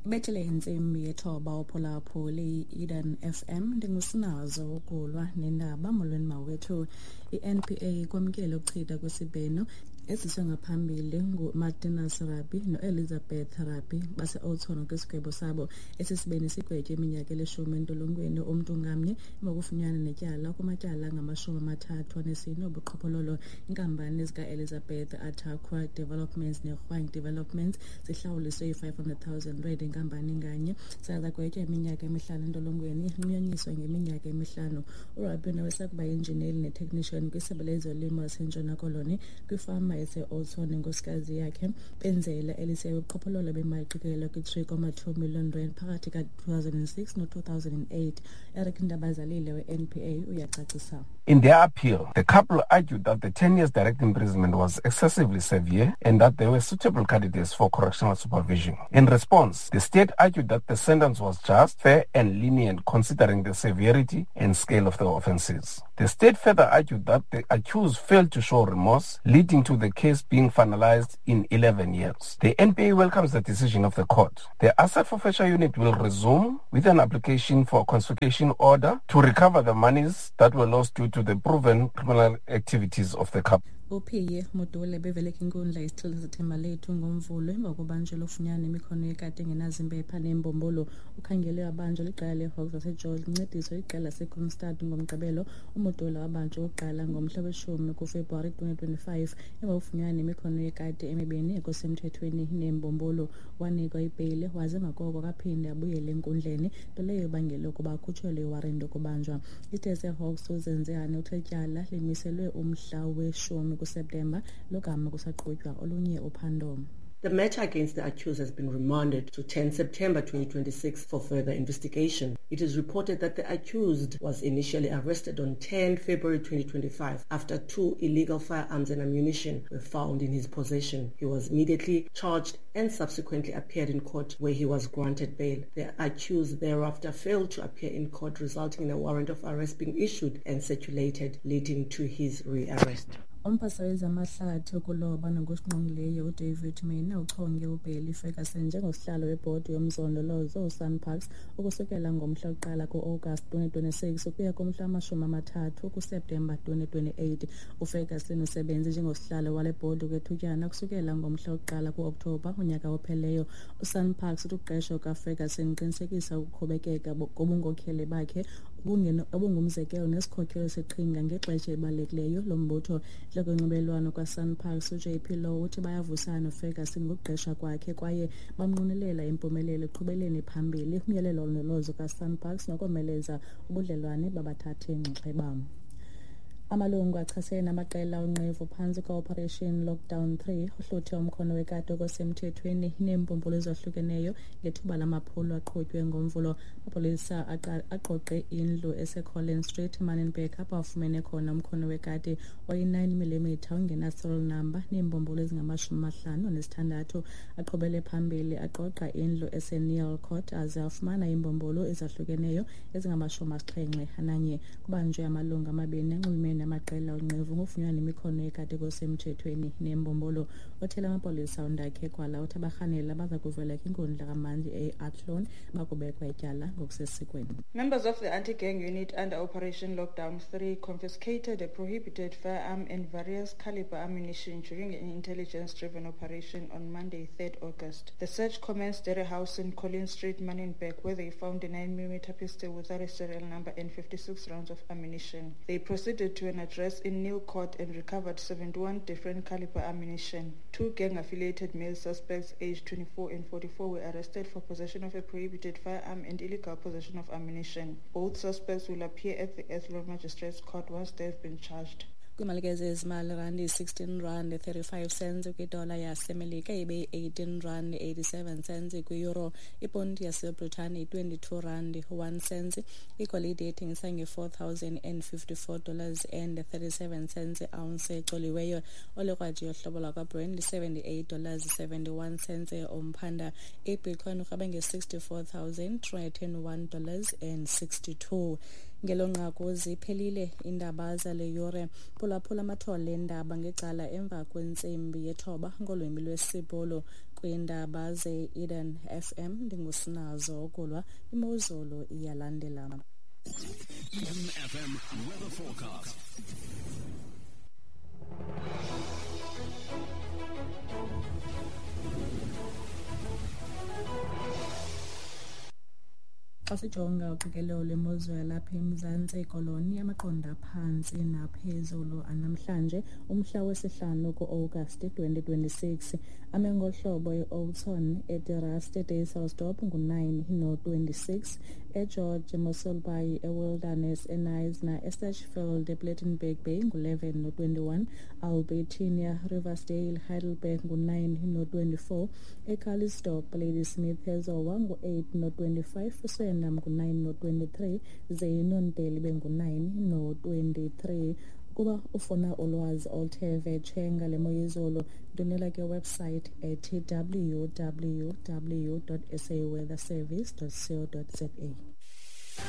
Ibethile intsimbi yethoba uphulaphuli i-Eden FM. Ndingusinazo ukulwa nendaba. Molweni mawethu. I-NPA ikwamkele ukuchitha kwesibheno eziswe ngaphambili nguMartinus Rabi noElizabeth Rabi base-Oudtshoorn kwisigwebo sabo. Esi sibini sigwetywe iminyaka elishumi entolongweni umntu ngamnye emva kokufunyanwa netyala kumatyala angama-34 obuqhophololo. Iinkampani zikaElizabeth, Ataqua Developments neHwang Developments, zihlawuliswe i-500 000 rand inkampani nganye, zagwetywa iminyaka emihlanu entolongweni, inqunyanyiswa ngeminyaka emihlanu. URabi nowesakuba yinjineli netechnician kwisebe lezolimo laseNtshona Koloni kwifama ese-Oudtshoorn nenkosikazi yakhe benzela elise ubuqhophololo bemali qikelelwa kwi-3.2 million rand phakathi ka-2006 no-2008. Eric Ndabazalile we-NPA uyacacisa. In their appeal, the couple argued that the 10 years direct imprisonment was excessively severe and that they were suitable candidates for correctional supervision. In response, the state argued that the sentence was just, fair and lenient considering the severity and scale of the offences. The state further argued that the accused failed to show remorse, leading to the case being finalized in 11 years. The NPA welcomes the decision of the court. The asset forfeiture unit will resume with an application for a confiscation order to recover the monies that were lost due to the proven criminal activities of the couple. UPhiye Mudule bevele kwinkundla yesithili saseThembalethu ngoMvulo emva kobanjelwa ufunyanwa imikhono yekati engenazimpepha neembumbulu. Ukhangelwe wabanjwa liqela leeHawks zaseGeorge lincediswa liqela laseKroonstad ngoMgqibelo. UMudule wabanjwa okokuqala ngomhla weshumi kuFebruwari 2025 emva kokufunyanwa nemikhono yekati emibini ekusemthethweni neembumbulu. Wanikwa ibheyile waze emva koko akaphinda abuyele enkundleni, nto leyo ebangele ukuba akhutshelwe iwaranti yokubanjwa. Isithe seeHawks uZenzehane uthe ityala limiselwe umhla weshumi kuSeptemba logama kusaqhutywa olunye uphando. The matter against the accused has been remanded to 10 September 2026 for further investigation. It is reported that the accused was initially arrested on 10 February 2025 after two illegal firearms and ammunition were found in his possession. He was immediately charged and subsequently appeared in court, where he was granted bail. The accused thereafter failed to appear in court, resulting in a warrant of arrest being issued and circulated, leading to his rearrest. Umphathiswa wezamahlathi, ukuloba nokusingqongileyo uDavid Maine uchonge uBarry Ferguson njengosihlalo webhodi yomzondolozo uSANParks ukusukela ngomhla wokuqala ku-Agasti 2026 ukuya kumhla wama-30 kuSeptemba 2028. UFerguson usebenze njengosihlalo wale bhodi okwethutyana ukusukela ngomhla wokuqala ku-Okthobha unyaka ophelileyo. USANParks uthi ukuqeshwa kukaFerguson kuqinisekisa ukuqhubekeka kobunkokheli bakhe obungumzekelo nesikhokelo seqhinga ngexesha elibalulekileyo lombutho. Intloko yonxibelelwano kwaSANParks uJP Louw uthi bayavuyisana noFerguson ngokuqeshwa kwakhe kwaye bamnqwenelela impumelelo ekuqhubeleni phambili umyalelo wolondolozo kaSANParks nokomeleza ubudlelwane babathathi nxaxheba. Amalungu achasene namaqela onqevu phantsi kwe-Operation Lockdown 3 uhluthe umkhono wekati okusemthethweni neembumbulu ezahlukeneyo ngethuba lamaphulo aqhutywe ngoMvulo. Amapolisa aqoqe indlu eseCollins Street, Manenberg, apho afumene khona umkhono wekati oyi-9 mm ongena-serial number neembumbulu ezingama-56. Aqhubele phambili aqoqa indlu eseNeil Court aze afumana iimbumbulu ezahlukeneyo ezingama-71. Kubanjwe amalungu amabini anxulumene namaqela onqevu ngokufunyanwa nemikhono yekati okusemthethweni neembumbulu. Othela amapolisa uNdakhe Kwala uthi abarhanelwa baza kuvela kwinkundla kamantyi e-Athlone bakubekwa ityala ngokusesikweni. Members of the anti-gang unit under Operation Lockdown 3 confiscated a prohibited firearm and various caliber ammunition during an intelligence-driven operation on Monday, 3rd August. The search commenced at a house in Collins Street, Manenberg, where they found a 9mm pistol without a serial number and 56 rounds of ammunition. They proceeded to an address in Neil Court and recovered 71 different caliber ammunition. Two gang-affiliated male suspects aged 24 and 44 were arrested for possession of a prohibited firearm and illegal possession of ammunition. Both suspects will appear at the Athlone Magistrates Court once they have been charged. Kwiimali zezimali, randi 16 rand 35 cents kwidola yaseMelika, ibe 18 rand 87 cents kwi-euro, iponti yaseBritane 22 rand 1 cents, igolide ethengisa nge-$4,054 and 37 cents ounce ecoliweyo, olikrwaji yohlobo lwakwaBrent $78 71 cents umphanda, ibitcoin urhabe nge-$64,301 and 62. Ngelo nqaku ziphelile iindaba zale yure. Phulaphula amathole eendaba ngecala emva kwentsimbi yethoba ngolwimi lwesiBhulu. Kwiindaba ze-Eden FM ndingusinazo Okulwa. Imozulu iyalandela. Eden FM weather forecast. Xa sijonga uqikelelo lwemozulu yalapha eMzantsi Koloni, amaqondo aphantsi naphezulu anamhlanje umhla wesihlanu ku-Agasti 2026 ame ngohlobo: e-Oudtshoorn, eDe-Rust, eDysselsdorp ngu-9 no-26, eGeorge, eMossel Bay, eWilderness, eKnysna, eSachsfield, ePlettenberg Bay ngu-11 no-21, Albertinia, Riversdale, Heidelberg ngu-9 no-24, eCalitzdorp, Ladysmith, eZowa ngu-8 no-25, uSwellnum ngu-9 no-23, ze iNonteli ibe ngu-9 no-23. Ukuba ufuna ulwazi oluthe vetshe ngale mo yezulu, ndwendwela ke website ethi www.saweatherservice.co.za.